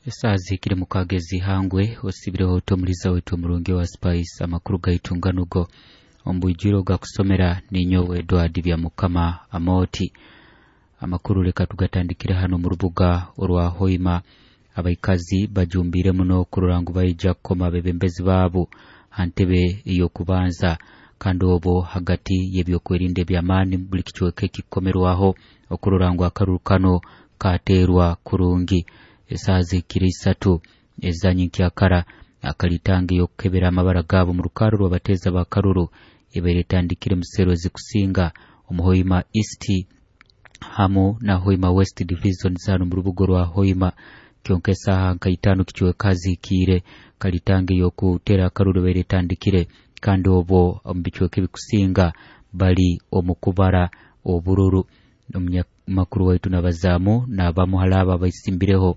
Esaaha zihikire mukaaga ez'ihangwe osibireho oti omuliza waitu omurungi owa Spice. Amakuru gaitu nganugo omu bwijwire ogakusomera ninyowe Edward Byamukama Amooti. Amakuru leka tugatandikire hanu omu rubuga orwa Hoima. Abaikazi bajumbiire muno kurora ngu baija kukoma abebembezi baabo ha ntebe ey'okubanza, kandi obwo hagati y'ebyokwerinda eby'amaani buli kicweka ekikukomerwaho okurora ngu akaruru kano kateerwa kurungi. Esaaha zihikire 3 ezanyenkyakara, akalitanga ey'okukebera amabara gaabo mu rukaaro rw'abateeza b'akaruru ebaire etandikire musero ezikusinga omu Hoima East hamu na Hoima West Division hanu mu rubuga rwa Hoima. Kyonka esaaha nka 5 kicweka zihikiire kalitanga ey'okutera akaruru ebaire etandikire, kandi obwo omu bicweka ebikusinga bali omu kubara obururu. Omunyamakuru waitu nabazaamu n'abamu hali abo abaisimbireho,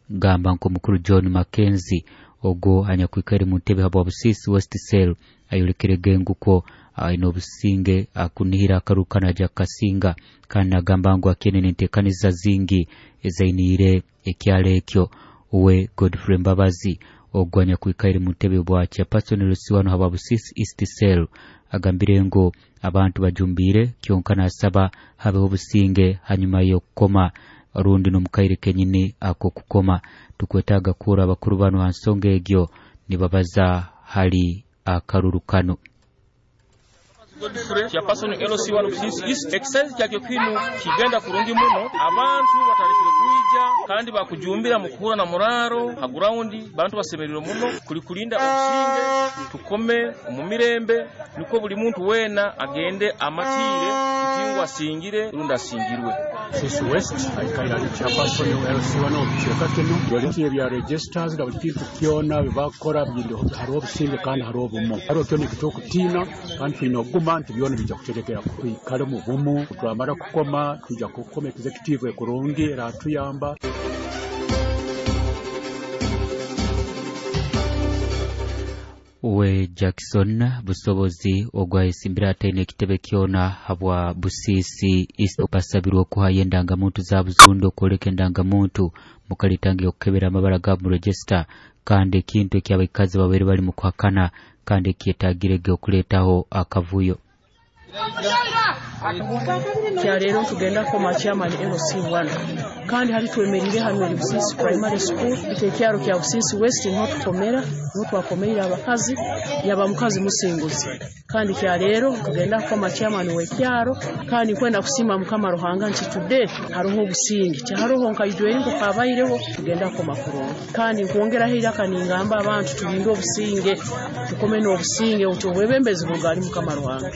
gamba nk'omukuru John Mackenzie ogwo anyakwikaire mu ntebe habwa Busisi West Cell ayolekere ngukwo aine obusinge akunihira akaruru kanu aja kukasinga, kandi nagamba ngu akyene n'enteekaniza zingi ezainiire ekyalo ekyo. Uwe Godfrey Mbabazi ogwo anyakwikaire mu ntebe bwa chairperson Lusiwano habwa Busisi East Cell agambire ngu abantu bajumbiire, kyonka nasaba habeho obusinge hanyuma y'okukoma rundi n'omukaire kenyini ak'okukoma. Tukwetaaga kuhurra abakuru banu ha nsonga egyo nibabaza hali akaruru kanu. Godfrey chairperson LC1 Busisi East, exercise kyakyo kinu kigenda kurungi muno, abantu batandikire kwija kandi bakujumbira mu kuhura na muraro ha ground, bantu basemerire muno kuli kulinda obusinge, tukome omu mirembe, niko buli muntu wena agende amatire ntingo asingire rundi asingirwe. Busisi West aikaire ali chairperson LC1 omu kicweka kinu, bali bya registers na buli kintu kyona bibakora hariho obusinge kandi hariho obumu, hariho kyona ekitokutiina kandi twine okuguma nti byona bijja kuterekera twikale mu bumu. Twamara kukoma tujja kukoma executive ekurungi eratuyamba. Uwe Jackson Busobozi ogwayesimbire ataine ekitebe kyona habwa Busisi East basabirwe okuhayo endangamuntu zaabo zundi okwoleka endangamuntu mukalitanga okukebera amabara gaabo mu register, kandi ekintu ekyabaikazi babaire bali mu kuhakana kandi ekyetagirege okuleetaho akavuyo. Kya leero tugenda kukoma chairman LC1, kandi hali twemerire hano eri Busisi Primary School, ekyaro kya Busisi West niho tukomera, niho twakomeire abakazi, yaba mukazi musinguzi. Kandi kya leero tugenda kukoma chairman w'ekyaro, kandi nkwenda kusiima Mukama Ruhanga nti today hariho obusinge, tihariho nka ijweri nko kabaireho, tugenda kukoma kurungi. Kandi nkwongeraho iraka ningamba abantu tulinde obusinge, tukome n'obusinge nti obwebembezi bugali Mukama Ruhanga.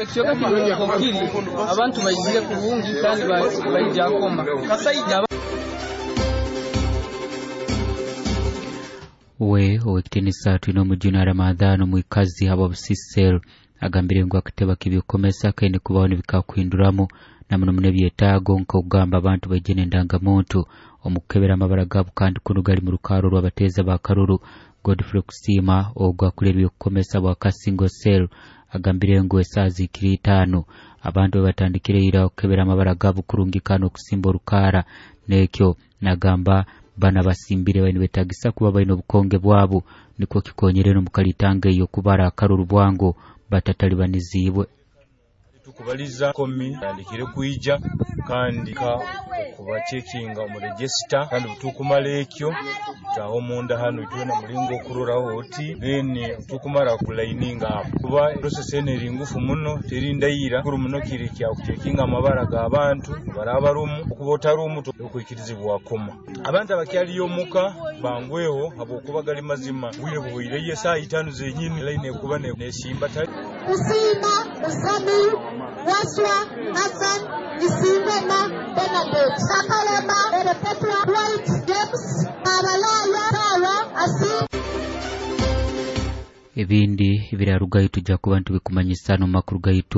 Ekyoka kiri abantu baizire kurungi kandi baija koma kasaija. We owekitinisa twine omujuni Ramadhan omwikazi habwa Busisi Cell agambire ngu akateba k'ebyokukomesa kaine kubaho nibikakuhinduramu na muno muno ebyetaago nk'okugamba abantu baije n'endangamuntu omu kukebera amabara gaabo, kandi kunu gali mu rukaaro rw'abateeza b'akaruru. Godfrey Kusiima ogwo akulira ebyokukomesa bwa Kasingo Cell agambire ngu esaaha zihikire 5 abantu batandikire ira okukebera amabara gaabo kurungi kandi okusimba orukaara, n'ekyo nagamba bana basimbire baine betagisa kuba baine obukonge bwabo nikwo kikonyere n'omukalitanga ey'okubara akaruru bwangu batatalibanizibwe. Tukubaliza komi yandikire kwija kandi ka kubachekinga omu register, kandi tukumala ekyo taho munda hano itwena mulingo okuroraho oti then tukumara kulaininga apo kuba process ene eri ngufu muno terindaira kuru muno kiri kya kuchekinga amabara g'abantu barabarumu okuba otarumu okwikirizibwa koma abantu abakyaliyo muka bangweho habwokuba gali mazima bwire buhwireye saa 5 zenyini line kuba nesimba tali Usima Muzamiru Waswa Hassan Isingoma Bernadette Sakalema Perpetua White James Abalaya Sarah Asim. Ebindi ebirarugayo tujja kuba ntubikumanyisa no makuru gaitu.